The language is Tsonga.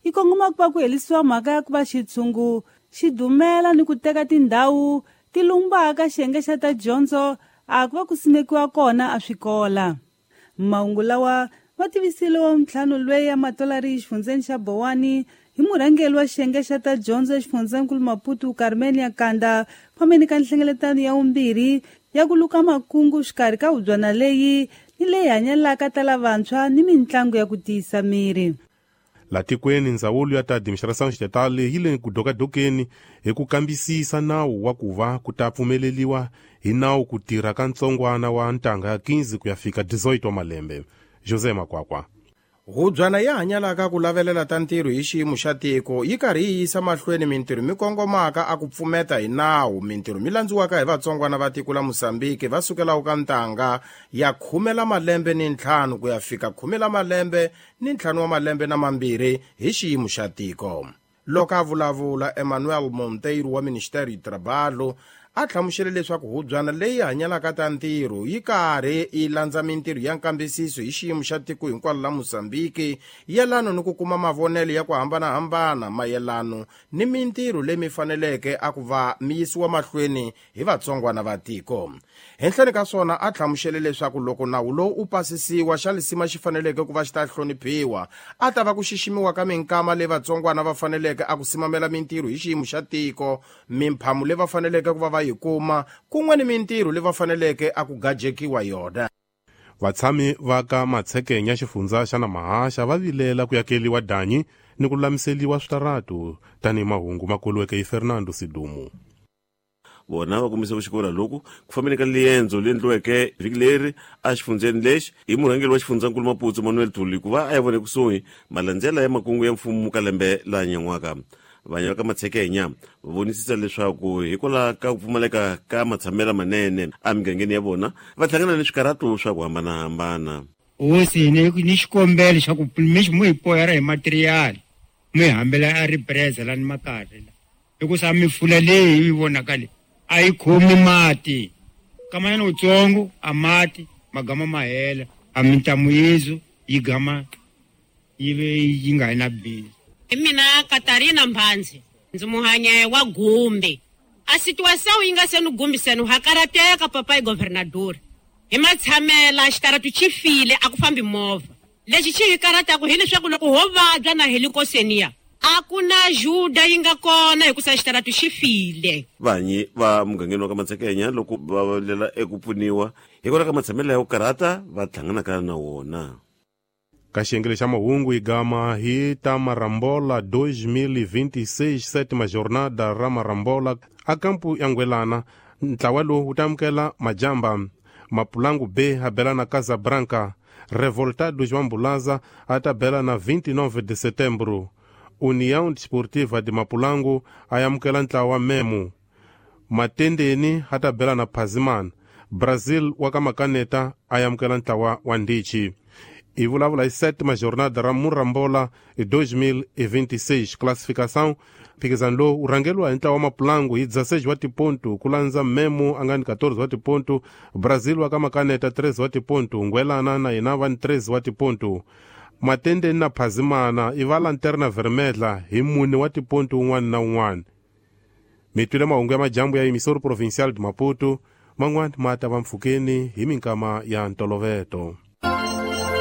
yi kongoma ku va ku helisiwa mhaka ya ku va xitshungu xi dumela ni ku teka tindhawu ti lumbaka xiyenge xa ta dyondzo a ku va ku simekiwa kona a swikola. Mahungu lawa ma tivisile wa ntlhanu lweyi ya matolari exifundzeni xa Bowani hi murhangeri wa xiyenge xa ta dyondzo exifundzeninkulu Maputo Carmen ya Kanda fambeni ka nhlengeletano ya vumbirhi ya ku luka makungu xikarhi ka hubyana leyi ni leyi hanyelaka ta lavantshwa ni mintlangu ya ku tiyisa miri. La tikweni ndzawulo ya ta administração estatal yi le ku dokadokeni hi ku kambisisa nawu wa ku va ku ta pfumeleliwa hi nawu ku tirha ka ntsongwana wa ntangha ya 15 ku ya fika 18 wa malembe. José Makwakwa. Hubyana ya hanyalaka ku lavelela ta ntirho hi xiyimo xa tiko yi karhi yi yisa mahlweni mintirho mi kongomaka a ku pfumeta hi nawu mintirho mi landziwaka hi vatsongwana va tiko la Mozambique va sukelaka ka ntangha ya 15 la malembe ni 5 ku ya fika 15 la malembe ni 5 wa malembe na 2 hi xiyimo xa tiko. Loko a vulavula, Emmanuel Monteiro wa Ministério do Trabalho a hlamusele leswaku hubyana leyi hanyalaka ta ntirho yi karhi yi landza mintirho ya nkambisiso hi xiyimo xa tiko hinkwalo la Mozambique yelano ni ku kuma mavonelo ya ku hambanahambana mayelano ni mintirho leyi mi faneleke a ku va mi yisiwa mahlweni hi vatsongwana va tiko. Henhleni ka swona a hlamusele leswaku loko nawu lowu u pasisiwa xa lisima xi faneleke ku va xi ta hloniphiwa a ta va ku xiximiwa ka minkama leyi vatsongwana va faneleke a ku simamela mintirho hi xiyimo xa tiko, mimphamu leyi va faneleke ku va va yi kuma kun'we ni mintirho leyi va faneleke a ku gajekiwa yona. Vatshami va ka Matshekenya xifundza xa Namahaxa va vilela ku yakeliwa danyi ni ku lulamiseliwa switaratu tanihi mahungu ma koliweke hi Fernando Sidumu. Vona va kombise ku xikola loku ku fambeni ka liendzo leri endliweke vhiki leri exifundzeni lexi hi murhangeri wa xifundzankulu Maputo Manuel Thuli ku va a ya vona ekusuhi malandzela ya makungu ya mfumo ka lembe la nyan'waka. Vanhu va ka Matshekenya va vonisisa leswaku hikwalaho ka ku pfumaleka ka matshamelo manene emigangeni ya vona va hlangana ni swikarhato swa ku hambanahambana. Hosi ni xikombelo xa ku mu hi poyara hi material mi hambela a ripreza lani makati hikusa mifula leyi yi vonaka leyi a yi khomi mati kamanyana utsongo a mati magama ma hela a mintamu yezu yi gama yi ve yi nga na bindzu. Hi mina Katarina Mbhanzi, ndzi muhanye wa Gumbi. A situação yi nga se ni gumbiseni ha karateka papai governador. Hi matshamela xitaratu xi file a ku fambi movha. Lexi xi hi karataku hileswaku loko ho vabya na helikoseniya a ku na juda yi nga kona hikusa xitaratu xi file. Vanyi va mugangeni wa ka Matshekenya loko va lela eku pfuniwa hikwalaho ka matshamelo ya ku karhata va hlanganaka na wona. Ka xiyenge xa mahungu hi gama hi ta Marambola 2026 sétima jornada ra Marambola a kampu ya Ngwelana. Ntlawa lowu wu ta amukela Majamba, Mapulangu B a bela na Casabranca, Revoltados wa Mbulaza a ta bela na 29 de setembro. União Desportiva de Mapulangu a amukela ntlawa wa Memo, Matendeni a ta bela na Phazimana, Brazil wa ka Makaneta a amukela ntlawa wa Ndichi. I vulavula hi sétima jornada ra Murambola 2026 classificação. Mphikizano lowu wu rhangeriwa hi ntlawa wa Mapulangu hi 16 wa tipontu ku landza Memo a nga ni 14 wa tipontu, Brazil wa ka Makaneta 13 wa tipontu, Ngwelana na yena va ni 13 wa tipontu. Matendeni na Phazimana i va Lanterna Vermelha hi 4 wa tipontu un'wana na un'wana. Mi twile mahungu ya majambu ya Emissora Provincial de Maputo, man'wana ma ta va mpfhukeni hi minkama ya ntoloveto.